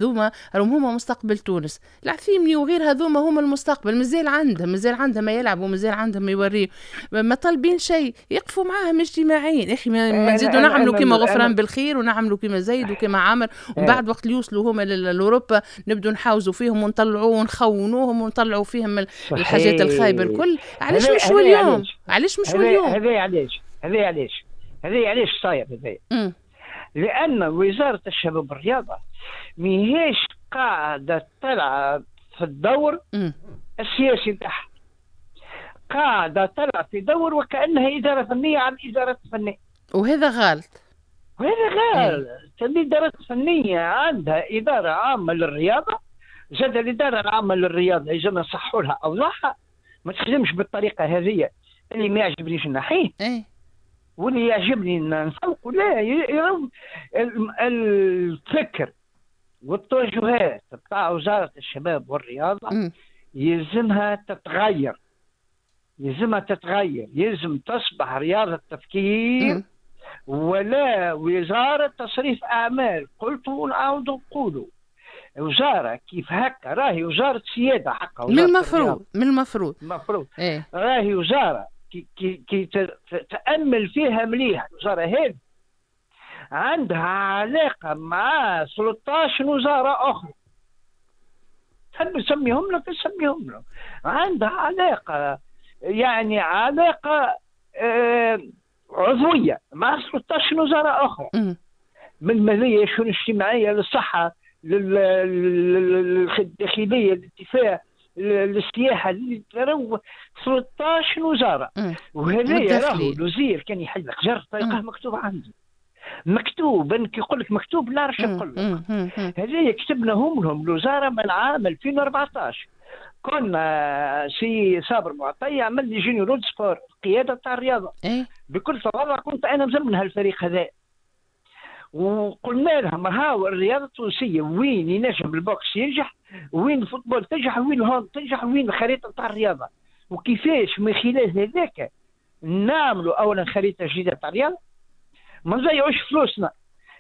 هذوما راهم هما مستقبل تونس. العثيمني وغير هذوما هما المستقبل، مازال عندهم، مازال عندهم ما يلعبوا، مازال عندهم ما يوريوا، ما طالبين شيء، يقفوا معاهم اجتماعيا. اخي ما نزيدوا نعملوا كيما غفران بالخير ونعملوا كيما زيد وكيما عامر، ومن بعد وقت اللي يوصلوا هما لاوروبا نبدوا نحاوزوا فيهم ونطلعوا ونخونوهم ونطلعوا فيهم الحاجات الخايبة الكل. علاش مش اليوم؟ علاش مش اليوم؟ هذا علاش، هذا علاش، هذا علاش صاير هذا؟ لأن وزارة الشباب والرياضة ماهيش قاعدة تلعب في الدور السياسي نتاعها، قاعدة تلعب في دور وكأنها إدارة فنية عن إدارة فنية، وهذا غلط. وهذا غلط. الإدارة الفنية عندها إدارة عامة للرياضة، زاد الإدارة العامة للرياضة يلزم نصحوا لها أوضاعها، ما تخدمش بالطريقة هذه اللي ما يعجبنيش نحيه واللي يعجبني نسوق. لا، الفكر والتوجهات بتاع وزارة الشباب والرياضة يلزمها تتغير، يلزمها تتغير، يلزم تصبح رياضة تفكير ولا وزارة تصريف أعمال. قلت ونعاود نقولوا وزارة كيف هكا راهي وزارة سيادة حقا، من المفروض، من المفروض، المفروض راهي وزارة كي تأمل فيها مليح. الوزارة هذه عندها علاقة مع 13 وزارة أخرى، تحب نسميهم لك نسميهم لك، عندها علاقة يعني علاقة عضوية مع 13 وزارة أخرى، من المالية، الشؤون الاجتماعية، للصحة، للداخلية، للدفاع، للسياحة، 13 وزارة. وهذا راهو الوزير كان يحل حجر تلقاه مكتوب عنده، مكتوب، كي يقول لك مكتوب لا عرفش نقول لك. هذا كتبناهم لهم الوزارة من عام 2014. كنا سي صابر معطي عمل les généraux sport، القيادة تاع الرياضة. بكل تواضع كنت انا مزمن هالفريق هذا، وقلنا لهم هاو الرياضة التونسية وين ينجم ال boxe ينجح، وين ال football تنجح، وين ال hand تنجح، وين الخريطة تاع الرياضة، وكيفاش من خلال هذاك نعملوا اولا خريطة جديدة تاع الرياضة، ما نضيعوش فلوسنا.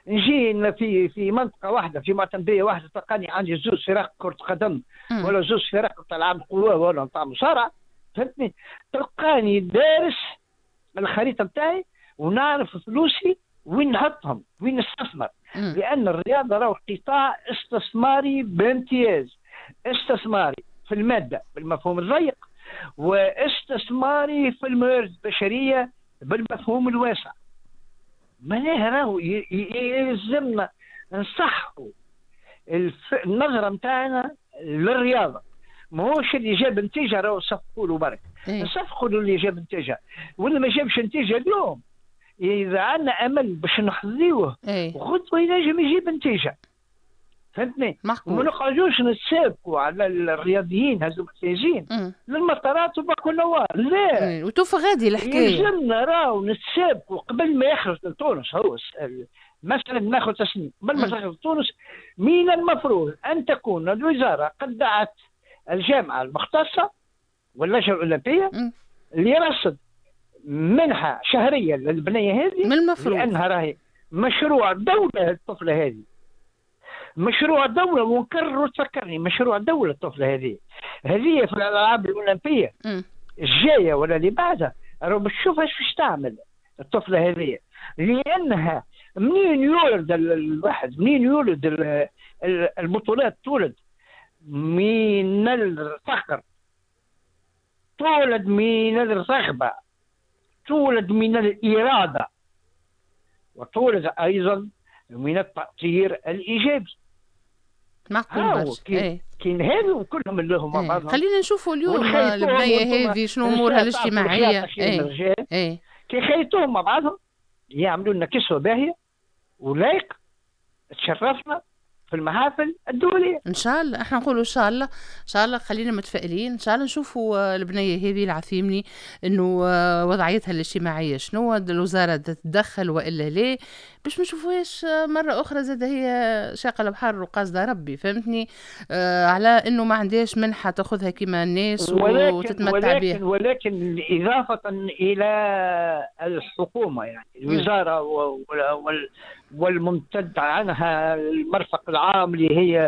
نجي في منطقة واحدة، في معتمديه واحدة، تلقاني عندي زوج فرق كره قدم ولا زوج فرق تاع العاب قوة ولا تاع مصارعه، فهمتني؟ تلقاني دارس الخريطة نتاعي ونعرف فلوسي وين نحطهم، وين نستثمر. لان الرياضة راهو قطاع استثماري بامتياز، استثماري في المادة بالمفهوم الضيق، واستثماري في الموارد البشرية بالمفهوم الواسع. معناها راهو يلزمنا نصحوا النظرة نتاعنا للرياضة، ماهوش اللي جاب نتيجة راهو صفقوا له برك، نصفقوا له اللي جاب نتيجة، واللي ما جابش نتيجة اليوم اذا عندنا امل باش نحظيوه وغدوه ينجم يجيب نتيجة، فهمتني؟ وما نقعدوش نتسابقوا على الرياضيين هذوك الفايزين للمطارات وباكو نوار، لا. وتوفى غادي الحكاية. يلزمنا راهو نتسابقوا قبل ما يخرج لتونس هو مثلا ناخذ تسنيم، قبل ما تخرج لتونس من المفروض ان تكون الوزارة قد دعت الجامعة المختصة واللجنة الاولمبية لرصد منحه شهرية للبنيه هذه، من المفروض، لانها راهي مشروع دولة الطفلة هذه، مشروع دولة، ونكرر وتفكرني مشروع دولة الطفلة هذه، هذه في الألعاب الأولمبية الجاية ولا اللي بعدها راهو باش تشوف اش باش تعمل الطفلة هذه، لأنها منين يولد الواحد، منين يولد البطولات، تولد من الفخر، تولد من الرغبة، تولد من الإرادة، وتولد أيضا من التأثير الإيجابي. معقول برشا. كاين هذو كلهم اللي هما بعضهم. خلينا نشوفوا اليوم البنية هذه شنو امورها الاجتماعية. كي خيطوهم مع بعضهم يعملوا لنا كسوه باهيه ولايق تشرفنا في المحافل الدولية. ان شاء الله، احنا نقولوا ان شاء الله، ان شاء الله خلينا متفائلين، ان شاء الله نشوفوا البنية هذه العثيمني انه وضعيتها الاجتماعية شنو، الوزارة تتدخل والا لا، باش ما نشوفوهاش مرة اخرى زاد هي شاقه البحر وقاصده ربي، فهمتني؟ على انه ما عندهاش منحه تاخذها كما الناس وتتمتع بها. ولكن اضافه الى الحكومة، يعني الوزارة والممتد عنها المرفق العام اللي هي